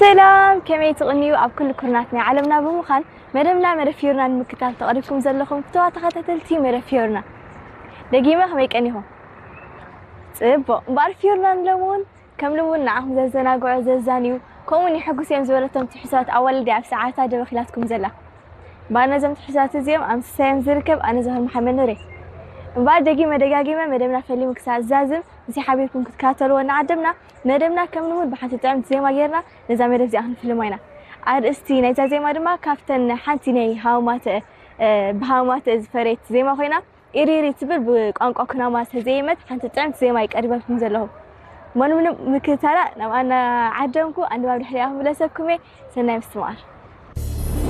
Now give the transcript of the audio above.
ሰላም፣ ከመይ ትቕንዩ? ኣብ ኩሉ ኩርናት ናይ ዓለምና ብምዃን መደብና መደብ ፊዮርና ንምክታል ተቐሪብኩም ዘለኹም ፍተዋ ተኸታተልቲ መደብ ፊዮርና፣ ደጊመ ከመይ ቀኒኹም? ጽቡቕ። እምበኣር ፊዮርና ንሎሚ እውን ከም ልቡ ንዓኹም ዘዘናግዑ፣ ዘዛንዩ፣ ከምኡውን የሐጉስ እዮም ዝበለቶም ትሕዝቶታት ኣዋልድ ኣብ ሰዓታ ደበኺላትኩም ዘላ። እምበኣር ነዞም ትሕዝቶታት እዚኦም ኣብ ምስሳዮም ዝርከብ ኣነ ዘኽር መሓመድ ኑር እየ። እምበኣር ደጊመ ደጋጊመ መደብና ፈሊሙ ክሳብ ዝዛዝም ምስይ ሓቢርኩም ክትከታተልዎ እናዓደምና፣ መደብና ከም ልሙድ ብሓንቲ ጥዕምቲ ዜማ ጌርና ነዛ መደብ እዚኣ ክንፍልማ ኢና። ኣርእስቲ ናይዛ ዜማ ድማ ካብተን ሓንቲ ናይ ሃማተ፣ እ፣ ብሃማተ ዝፈረየት ዜማ ኮይና፣ ኢሪሪ ትብል ብቋንቋ ኩናማ ዝተዘየመት ሓንቲ ጥዕምቲ ዜማ ይቀርበልኩም ዘለኹ። መኑ ምንም ምክታላ ናብ ኣና ዓደምኩ ኣንድባብ ድሕሪኣ ክምለሰኩም እየ። ሰናይ ምስትምዓር።